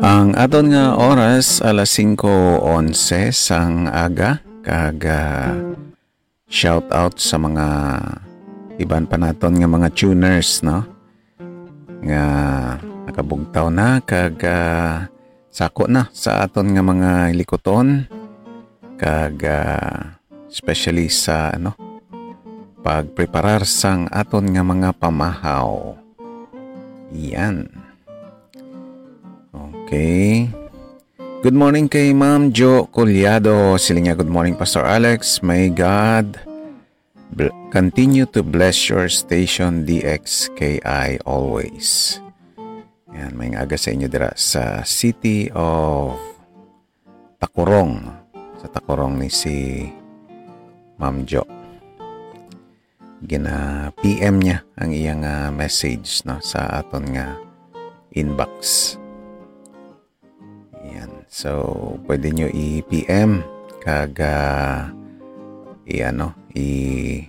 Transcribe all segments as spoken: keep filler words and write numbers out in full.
Ang aton nga oras, alas singko onse sang aga, kag, ah, shout out sa mga iban pa naton nga mga tuners, no? Nga nakabugtaw na, kag, ah, sako na sa aton nga mga likuton, kag, ah, especially sa, ano, pagpreparar sang aton nga mga pamahaw. Yan. Okay. Good morning kay Ma'am Jo Collado. Siling niya, "Good morning, Pastor Alex. May God bl-, continue to bless your station, D X K I, always." Yan, may aga sa inyo dira sa City of Tacurong. Sa Tacurong ni si Ma'am Jo. Gina-P M niya ang iyang, ah, message, no, sa aton nga inbox. Yan. So, pwede nyo i-P M kag, ah, i-ano, i-message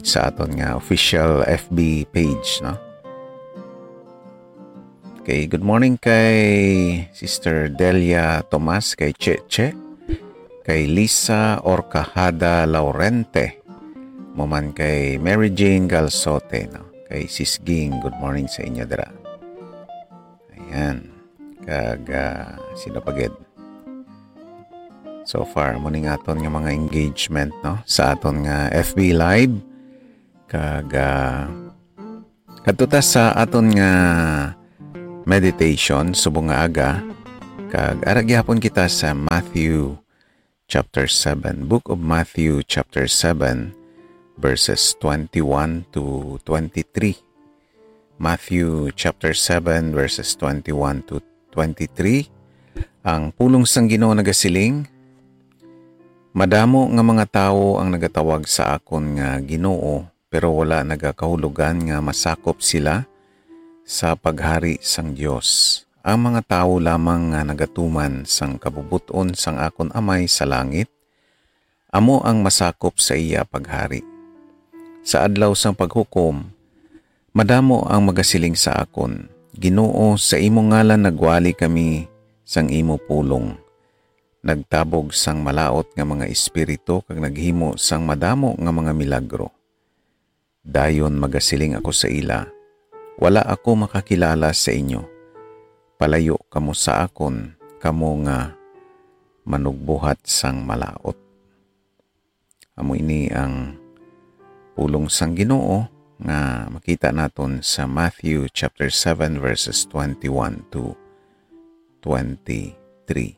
sa aton nga official F B page, no? Okay, good morning kay Sister Delia Tomas, kay Cheche, kay Lisa Orcajada Laurente, mo man kay Mary Jane Galsote, no? Kay Sis Ging, good morning sa inyo dira. Ayan. Kag, ah, sino pa gid? So far, mo ning aton nga mga engagement, no? Sa aton nga F B Live. Kag, ah, kadto ta sa aton nga meditation subong nga aga. Kag ara gihapon kita sa Matthew chapter seven, Book of Matthew chapter seven, verses twenty-one to twenty-three. Matthew chapter seven, verses twenty-one to twenty-three. Ang pulong sang Ginoo nagasiling, "Madamo nga mga tawo ang nagatawag sa akon nga, 'Ginoo,' pero wala nagakahulogan nga masakop sila sa paghari sang Dios. Ang mga tawo lamang nga nagatuman sang kabubot-on sang akon Amay sa langit, amo ang masakop sa iya paghari. Sa adlaw sang paghukom, madamo ang magasiling sa akon, 'Ginoo, sa imo ngalan nagwali kami sang imo pulong, nagtabog sang malaut nga mga espiritu kag naghimo sang madamo nga mga milagro.' Dayon magasiling ako sa ila, 'Wala ako makakilala sa inyo. Palayo kamo sa akon, kamo nga manugbuhat sang malaut.'" Amo ini ang pulong sang Ginoo nga makita naton sa Matthew chapter seven, verses twenty-one to twenty-three.